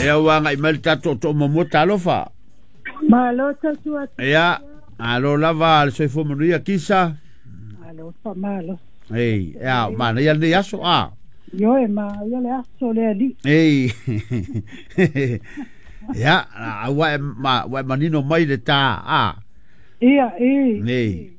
Ia ua agai mai le tatou toomamua talofa. Malo tautua. Ia, alo lava le soifua manuia Kisa. Malo faamalo. Ei, ia, manaia lenei aso a. Ioe, manaia le aso le alii. Ei. Ia, ua e, ma, ua e manino mai le tā a. Ia, i. Nei.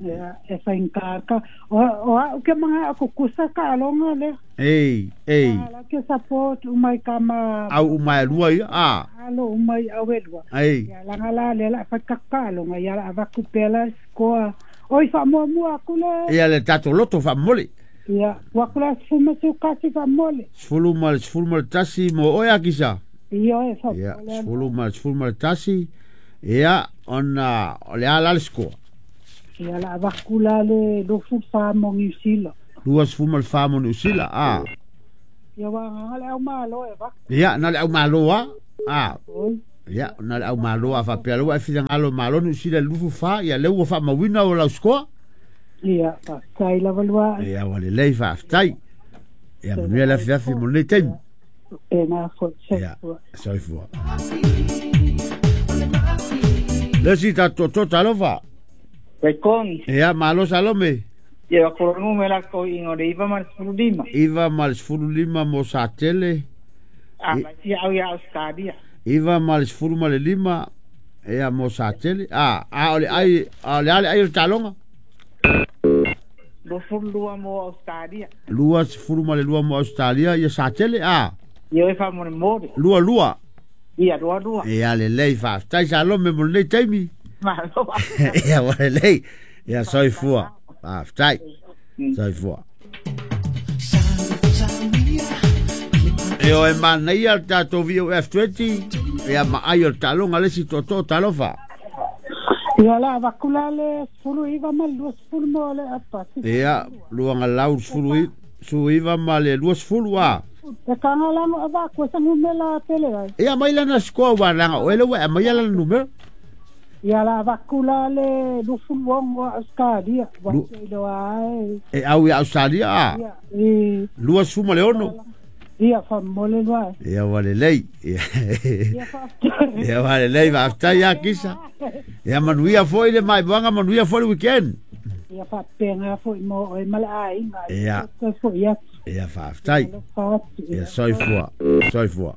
Ia, e faigata. O au ke manga o kukusa ka alonga lea. Ei, ei. La ke support umai kama. Au umai lua ia, a. Alo umai au e lua. Ei. Ia, langa la le la whaikaka alonga, ia la avaku pela skoa. Oi, whaamua aku le. Ia le tatou loto faamomoli. Ia, ua kula sefulu ma kasi faamomoli. 11 mo oe Akisa. Ia, e Ia, faamomoli. 11, ia, ona, o le a la le score? Ia, la avaku la le 24 mo Niu Sila. 24 mo Niusila, a. Ia, ua agaga le aumālō e vaku. Ia, na le aumālō a. A. Oi. Ia, na le aumālō a faapea le ua e finagalo malo Niusila i le 24, ia lea ua faamauina o lau score. Ia, faafetai lava lua. Ia, ua lelei faafetai. Ia, manuia le afiafi mo lenei taimi. Pena foi, Ia, soifua. Soifua. Le si tatou to talofa. Kaikong, Ia, malo Salome. Ia wakolongu me la ko ingo le 9 ma le 15. 9 ma le 15 mo Satele. A mai tia au ia Australia. 9 ma le 15, ia mo Satele. A, a o le ai, a o le ale ai o le taloga. 22 mo Australia. 22 mo Australia, ia Satele, a. Ia e whamone more. 22. Ia 22. Ia lelei faafetai Salome mo lenei taimi. Malo. Ia ua lelei. Ia soifua. Faafetai. Soifua. E o e manaia le tatou VOF20, ia maai o le taaloga le isi tootoo talofa. Ia, la avaku la le 19 ma le 20 mo le apasi. Ia, luagalau 19 ma le 20 a. E kaga lago avaku e sagumela tele ai. Ia mai lana score ua laga o ele ua e aumaia lana numera. Ia, la avaku la le 26 o Australia. Ua seiloa ai. E au ia Australia a. Ia, i. 26. Ia, faamomoli lua. Ia ua lelei. Ia, faafetai. Ia ua lelei faafetai ia Kisa. Ia manuia foi le maimoaga manuia foi le weekend. Ia faapega foi mo oe ma le aiga. Ia. Toe foi atu. Ia faafetai. Alofa atu. Ia soifua. Soifua.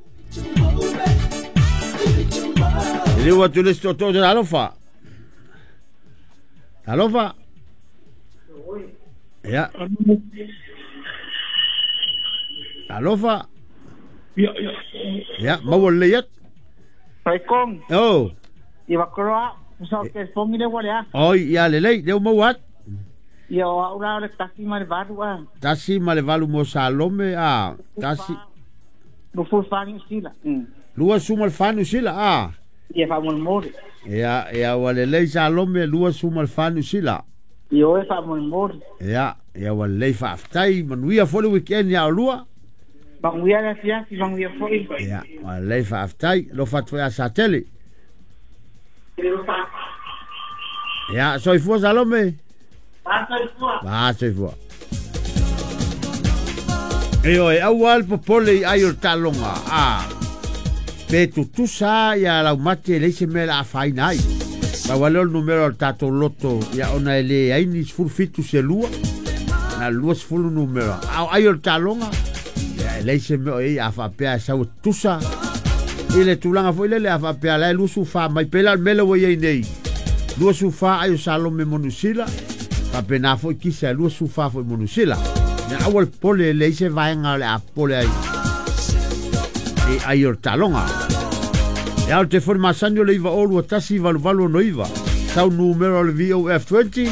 E le ua atu le isi tootoo talofa. Talofa. Ia. Talofa. Ia, ia. Ia, maua lelei atu. Kaikong, Oh. ia wakoloa, sa ke fongi le wale a. Oi, ia lelei, leo maua atu. Ia o au la o le 1 ma le 8 a. 1 ma le 8 mo Salome a. 1. 24 Niu Sila. 24 Niusila a. Ia whamone Ia, ia ua lelei Salome 24 Niusila. Ia o e whamone Ia, ia ua lelei faafetai manuia foi le weekend ia olua. Manguia le afiafi, manguia foi. Ia, ua lelei faafetai lofa atu foi ia Satele. Ia, soifua Salome. Soifua. Va, soifua. E oe, aua le popole i ai o le taaloga. A. Pe tutusa ia laumate e leai se mea le afaina ai. Pau lea o le numera o le tatou loto, ia ona e le ai ni 17 se lua, na 20 numera. A o ai o le taaloga, ia e leai se mea o i ai a faapea e sau e tutusa. I le tulaga foi lele a faapea la e 24 mai pe la o le mea lea ua i ai nei. 24 ai o Salome mo Niusila, faapena foi Kisa e 24 foi mo Niusila. Ia aua le popole e leai se vaega o le a popole ai i ai o le taaloga. Ia o le telefoni masani o le 902 18869. Sau numera o le VOF20.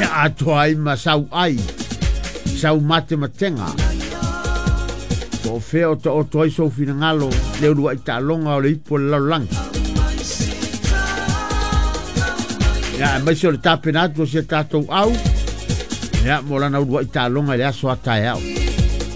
Ia atoa ai ma sau ai. Sau matematega. Po o fea o taoto ai sou finagalo le uluai taaloga o le ipu o le lalolagi. Ia, aemaise o le tapena atu o si a tatou au. Ia, mo lana uluai taaloga i le aso a taeao.